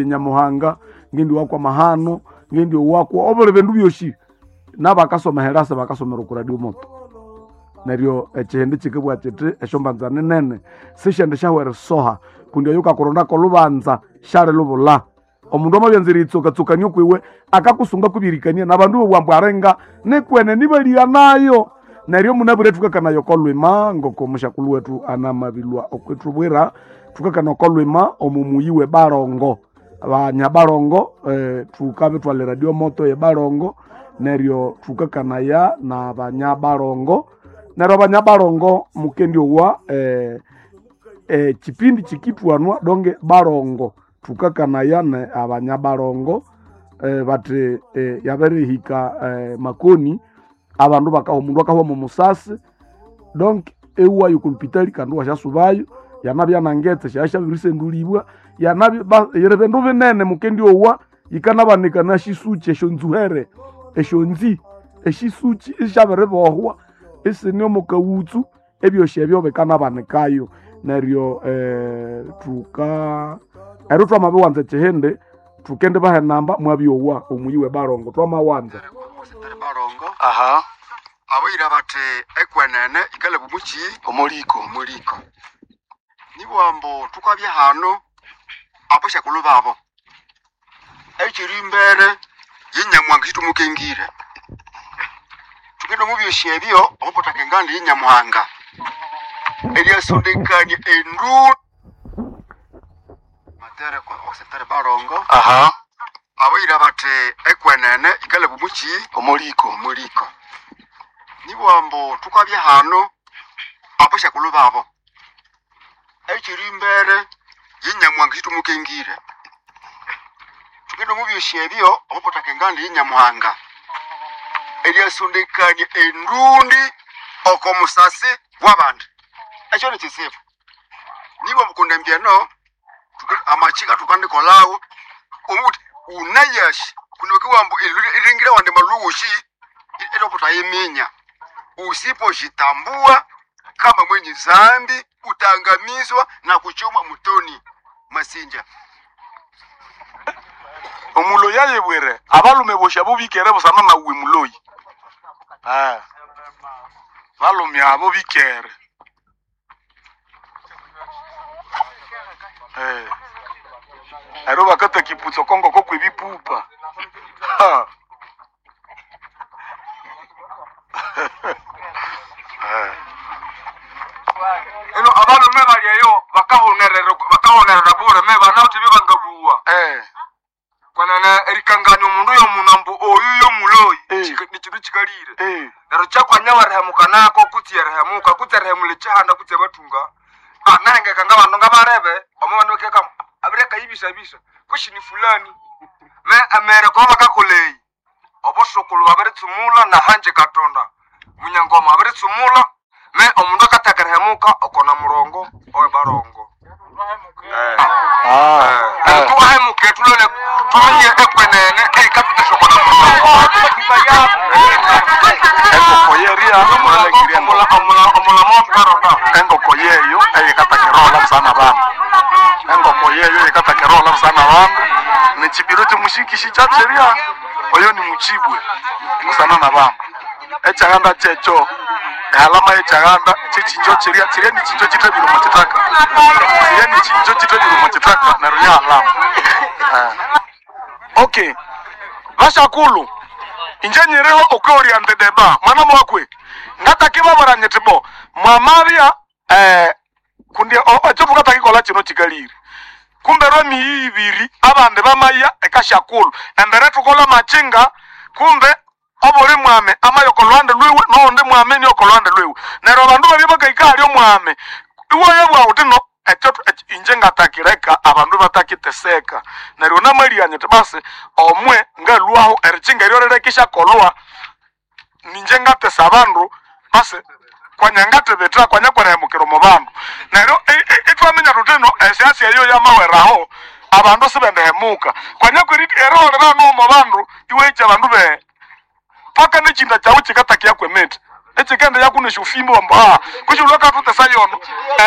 Nyamuhanga ngendi wakwa mahano ngendi owakwa obuli bindu byosi nabakasoma herasa bakasomera oku radio moto. Neryo ekihindi kikibugha kiti esyombanza ninene sisyendi syahwa erisoha kundi oyo wukakurondako olubanza syalilubulha. Omundu amabyanza eriyitsokatsokania okwiwe akakusunga kwibirikania nabandu bobuwa ambu arenga nikwene nibaligha nayo. Neryo munabwire thukakanaya oko lhwima ngoko musyakulhu wethu anamabilhwa okwithubwira, thukakana oko lhwima omo muyi we Barongo. Abanyabarongo thukabithwala eradio moto ye Barongo neryo thukakanaya nabanyabarongo. Neryo abanyabarongo mukendyowa ekipindi kikithwanwa donge Barongo. Thukakanaya ne abanyabarongo bathi yabirihika makoni abandu bakaha omundu akahwa omo musasi donc iwayo oko lupitali kandi iwasyasubayo yanabya nangetse syabya syabirisendulibwa yanabya yiri bindu binene mukendyowa yikanabanika nasyisuki esyonzuhere esyonzi esyisuki isyabiribohwa isine omo kawutsu ebyosi ebyo bikanabanikayo. Neryo thuka neryo thwamabiwanza ekihindi thukendibaha enamba mwabyowa omuyi we Barongo twamawanza. Aha. Abayira bathi ekwenene ikalaba omuki Omuliko. Omuliko. Nibugha ambu thukabya hano abasyakulhu babo ekiri embere ye Nyamuhanga ekyitumukengire. Thugende omu byosi ebyo omupataka enganda ye Nyamuhanga eryasondekania enduli matere okusitari Barongo. Aha. Abayira bathi ekwenene ikalaba omuki Omuliko. Omuliko. Nibugha ambu thukabya hano abasyakulhu babo ekiri embere ye Nyamuhanga ekyitumukengire. Thugende omu byosi ebyo omupataka enganda ye Nyamuhanga eryasondekania endundi oko musasi wabandi. Ekyo nikyisibu. Nibugha ambu kundi embya eno amakyika thukandikolhawo omubuthi wunayasi kundi bakabugha ambu erilhangira awandi malhughusi ithwabutayiminya. Usipojitambua kama mwenye zambi utaangamizwa na kuchomwa motoni masinja. Omuloyi ayibwire abalume bosi abo bikere busana nawe muloyi. Balume abo bikere. Neryo bakataka iputsa okongoko kwebipupa. Ha. Eno abalume bali eyo bakahonerera bure me banawithe ebyabangabuwa. Kwenene erikangania omundu yomundu ambu oyu yomuloyi nikindu kikalire. Neryo kyakwanya werihemuka nako kutse erihemuka kutse erihemula ekyihanda kutse abathunga. Nahengeka ngabandu ngabarebe omo bandu bakeka abirekayibisabisa kutse ni fulani. Me emere kuba bakakolha eyi obusukulhu babiritsumula nahangye katonda munyangoma abiritsumula me omundu akatheka erihemuka oko namurongo owe Barongo. Neryo thuwahemuke thulole thuminye ekwenene eyikathutesya oko namurongo. Engoko yeria mulangirye Omulamo thukaronda. Engoko yeyo eyikataka erohola busana bandu. Engoko yeyo eyikataka erohola busana bandu nikyibiro kyomushikisi kyakyerya oyo ni mukyibwe busana na bandu. Ekyaghanda kyekyo ehalama yekyaganda kyekyinjo kyerya kyerya nikyinjo kyithabire omo kithaka. Kyerya nikyinjo kyithabire omo kithaka neryo yahalama. Okay. Basyakulhu inje nyiriho okwioriente deba mwana mwakwe ngatakibabwira nyiti bo mwamabya kundi ekyo thukatakikolha kino kikalire kumbe lwemiyi ibiri abandi bamaya ekasyakulhu embere thukolha amakyinga kumbe obuli mwami amaya oko lhuhande lwiwe noghundi mwami niyo oko lhuhande lwiwe neryo abandu babya bakahika ahali omwami iwayabugha ghuthi no ekyo inje ngatakireka abandu ibatakiteseka. Neryo namalya nyithi basi omwe ngalhwaho erikyinga eryo rireke isyakolhwa ninje ngatesa abandu basi kwanya ngathibitha kwanya kwerihemukira omo bandu. Neryo ithwaminya thuthi ino esyasi eyo yamaweraho abandu sibendihemuka kwanya eriholera no omo bandu iwahikya abandu paka nekyinda kyaghu kyikatakiya kwemithi. Ekikende yakuna esyofimbo amba kuki lwakatutesa yono.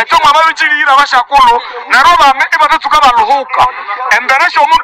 Ekyo mwamabikirira abashakulu neryo abami ibatatsuka baluhuka embere syomundu.